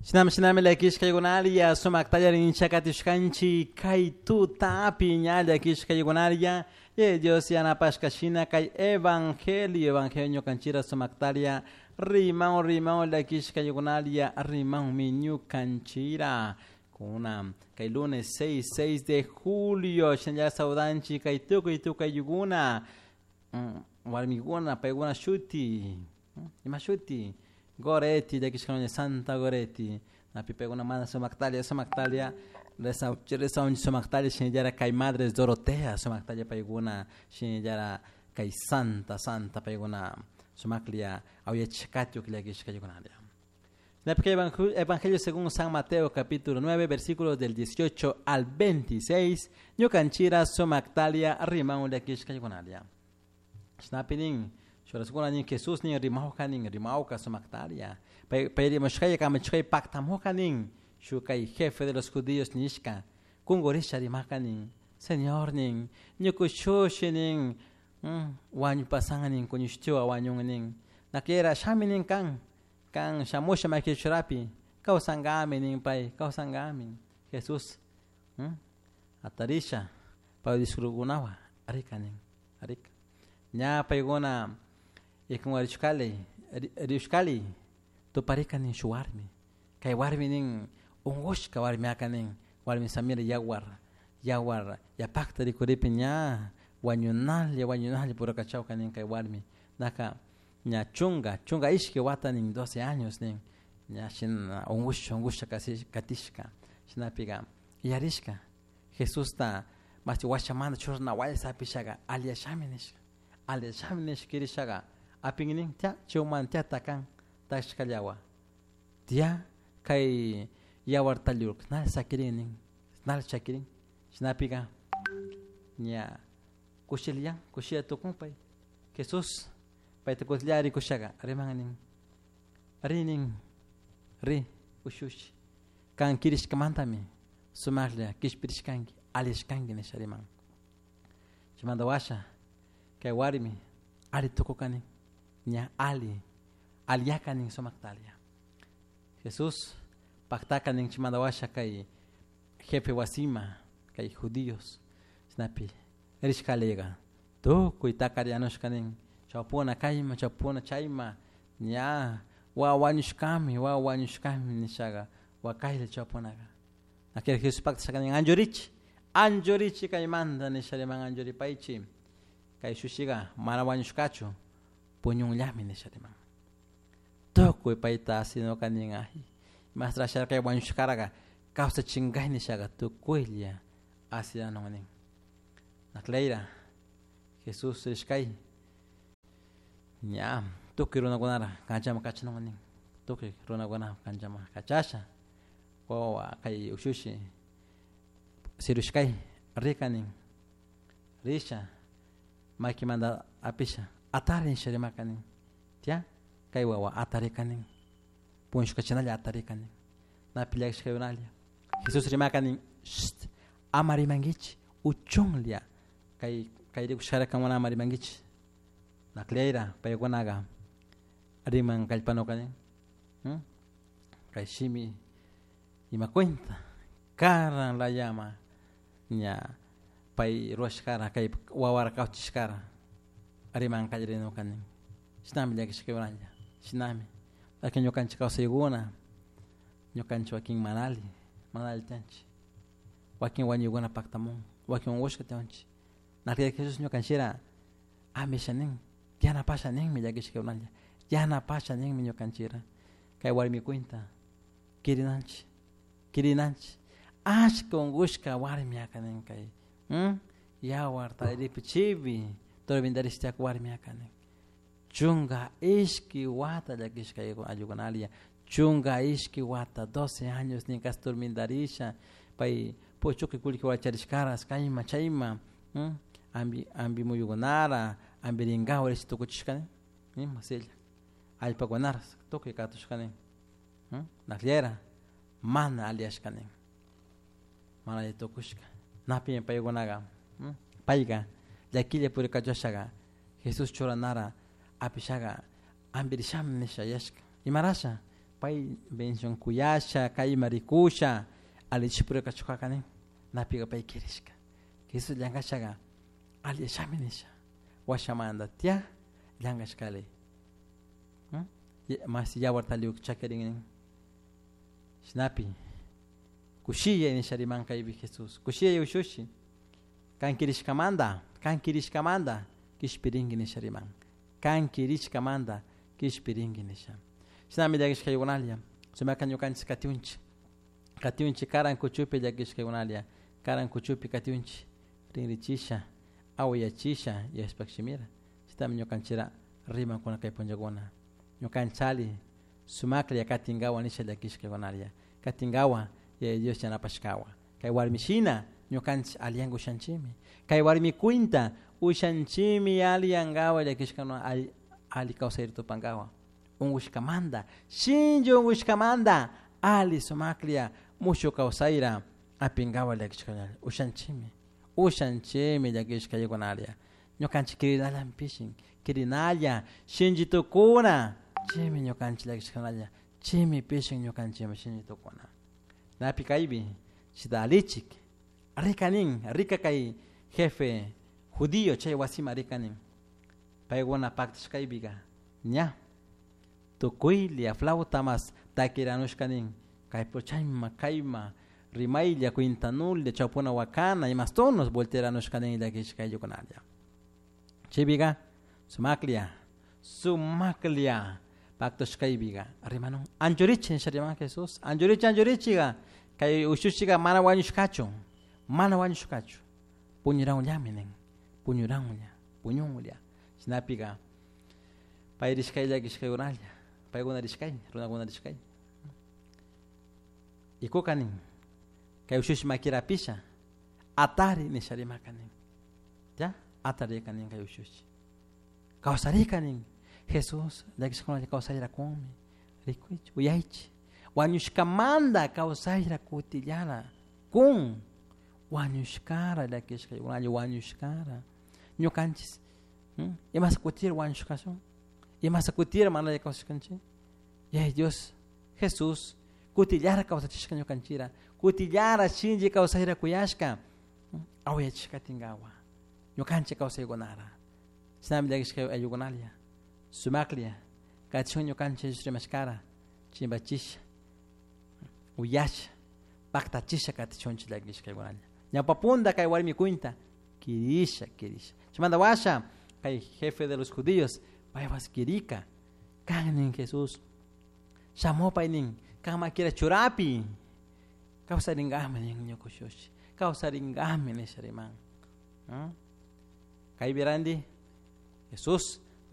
Shinami shinami llakishkaykunaria sumaktalla rinchakatishkanchik kay tutapi ña llakishkaykunaria ye Dios yanapashka shina kay evangelio evangelio ñukanchira sumaktaria riman riman llakishkaykunaria rimanmi ñukanchira kuna kay lunes 6 6 de julio shinalla saudanchik kay tukuy tukuykuna warmikuna paykuna shuti ima shuti Goretti llakishkayuna Santa Goretti napi paykuna mana sumaktalia sumaktalia rezanchik sumaktalia shinallara kay Madres Dorotea sumaktalia paykuna shinallara kay Santa Santa paykuna sumaklia awyachishkatyuk llakishkaykunaria. Evangelio según San Mateo capítulo 9 versículos del 18 al 26 ñukanchira sumaktalia riman llakishkaykunaria. Shinapinin shuraskuna nin Jesús nin rimawka nin rimawka sumaktalia pay rimashkaya kamachishkaya paktamuka nin shuk kay jefe de los judíos nishka kungurisha rimaka nin Señor nin ñukushushi nin wañupasan nin kuñushtiwa wañun nin nakiera shami nin kan kan shamusha makichurapi kawsankami nin pay kawsankami Jesús atarisha pay discipulukunawan rika nin rika ña paykuna ikunwarishkali rishkali tuparika nin shuk warmi kay warmi nin unkushka warmiaka nin warmi samira yawar yawar yapakta rikuripi ña wañunalla wañunalla purakachawka nin kay warmi naka ña chunka chunka ishki wata nin 12 años nin ña shina unkusha unkusha katishka shinapika yarishka Jesusta mashti washamanta churana wayta hapishaka aliyashami nishka aliyashami nishka kirishaka apin nin tia chayman tia takan takashkallawa tia kay yawar tallurka nali sakirin nin nali chakirin shinapika ña kushillan kushilla tukun pay Jesús payta kushilla rikushaka riman nin ri nin ri ushushi kan kirishkamantami sumaklla kishpirishkanki alishkanki nisha riman chaymanta washa kay warmi alli tukuka nin ña alli alliyaka nin sumaktalia Jesús paktaka nin chaymanta washa kay jefe wasima kay judíos chaynapi rishkaliga tukuy takarianushka nin chawpuna kayma chawpuna chayma ña wawa wañushkami wawa wañushkami nishaka wakaylla chawpunaka nakirik Jesús paktashaka nin anchurichi anchurichi kaymanta nisha riman anchuripaychi kay shushiga mana wañushkachu puñunllami nisha riman tukuy payta asinuka nin ay imastra kay wañushkaraka kawsachinkay nishaka tukuylla asiranun nin nakleyra Jesús rishkay ña tukuy runakunara kanchaman kachanun nin tukuy runakuna kanchaman kachasha wawa kay ushushi sirushkay rika nin risha makimanta apisha atari nisha rimaka nin tia kay wawa atarika nin puñushkachinalla atarika nin napi llakishkaykunalla Jesús rimaka nin sht ama rimankichik uchunlla kay kay rikushkara kankuna ama rimankichik nakleyra paykunaka riman kallpanuka nin kay shimi ima cuenta karan layama ña pay rurashkara kay wawara kawchishkara riman kallarinuka nin shinami llakishkaykunalla shinami wakin ñukanchik kawsaykuna ñukanchik wakin mana alli mana alli tiyanchik wakin wañuykuna paktamun wakin unkushka tiyanchik naklla Jesús ñukanchira amisha nin yanapasha ninmi llakishkaykunalla yanapasha ninmi ñukanchira kay warmi cuenta kirinanchik kirinanchik ashka unkushka warmiaka nin kay yawar talliripi chipi tormentarishtiak warmiaka nin chunka ishki wata llakishka ayukunalla chunka ishki wata 12 años nin casi tormentarisha pay puchuki kullki wacharishkaras kayma chayma ambi ambi muyukunara ambirinkawa rish tukuchishka nin ima silla allpakunaras tukuy katushka nin nakllera mana aliyashka nin mana alli tukushka napi paykunaka payka llakilla purikachashaka Jesús churanara apishaka ampirishami nisha yashka imarasha. Pay bendición kuyasha, kayma rikusha, alichipurika chukaka nin, napiga pay kirishka. Jesús llankashaga alli nisha. Washamanda tia llankashkali. Mas yawar taliuk chakirin nin. Shinapi kushilla nisha riman kaypi Jesús. Kushilla ushushi. Kan kirishkamanta, kan kirishkamanta kishpirinki nisha riman. Kan kirishkamanta kishpirinki nisha. Shinami llakishkaykunalla. Sumaka ñukanchik katiunchik. Katiunchik karan kuchupi llakishkaykunalla. Karan kuchupi katiunchik. Rinrichisha, awayachisha yashpak shimira. Chitami ñukanchira rimankuna kay punllakuna. Ñukanchali sumaklla katinkawa nisha llakishkaykunalla. Katinkawa Yaya Dios yanapashkawa. Kay warmishina ñukanchik alliyanka ushanchikmi. Kay warmi cuenta ushanchikmi alliyankawa llakishkana alli kawsayta tupankawa. Unkushkamanta, shinchi unkushkamanta alli sumaklla mushuk kawsayra apinkawa llakishka ushanchikmi. Ushanchikmi llakishkaykunalla. Ñukanchik kirinalla pishin, kirinalla shinchi tukuna. Chaymi ñukanchik llakishkanalla. Chaymi pishin ñukanchikmi shinchi tukuna. Napi kaypi chita alichik rikanin, rika kay jefe judío chay wasima rikanin. Paykuna paktashkaypika ña tukuylla flauta mas takiranushkanin kaypo chayma kayma rimaylla cuintanulla chawpuna wakana imas tonos volteranushkanin llakishkayukunalla. Chaypika sumaklla sumaklla paktashkaypika rimanun anchurichi nisha riman Jesús anchurichi anchurichiga kay ushushiga mana wañushkachu mana wañushkachu puñuranllami nin puñuranlla puñunlla shinapika pay rishkay llakishkaykunalla paykuna rishkay runakuna rishkay ikuka nin kay ushushi makirapisha atari nisha rimaka nin ya atarika nin kay ushushi kawsarika nin Jesús llakishkunalla kawsayra kunmi rikuychi uyaychi wañushkamanta kawsayra kutillara kun wañushkara llakishkaykunalla wañushkara ñukanchis imasa kutira wañushkashun imasa kutira mana kawsashkanchik Yaya Dios Jesús kutillara kawsachishka ñukanchira kutillara shinchi kawsayra kuyashka awayachishkatinkawa ñukanchik kawsaykunara shinami llakishka ayllukunalla sumaklla kachun ñukanchik Jesús rimashkara chimpachisha uyasha paktachisha katichunchik llakishkaykunalla ñawpapunda kay warmi cuenta kirisha kirisha chaymanta washa kay jefe de los judíos paypas kirika kan nin Jesús shamupay nin kan makira churapi kawsarinkami nin ñuka ushushi kawsarinkami nisha riman. Kaypi ranti Jesús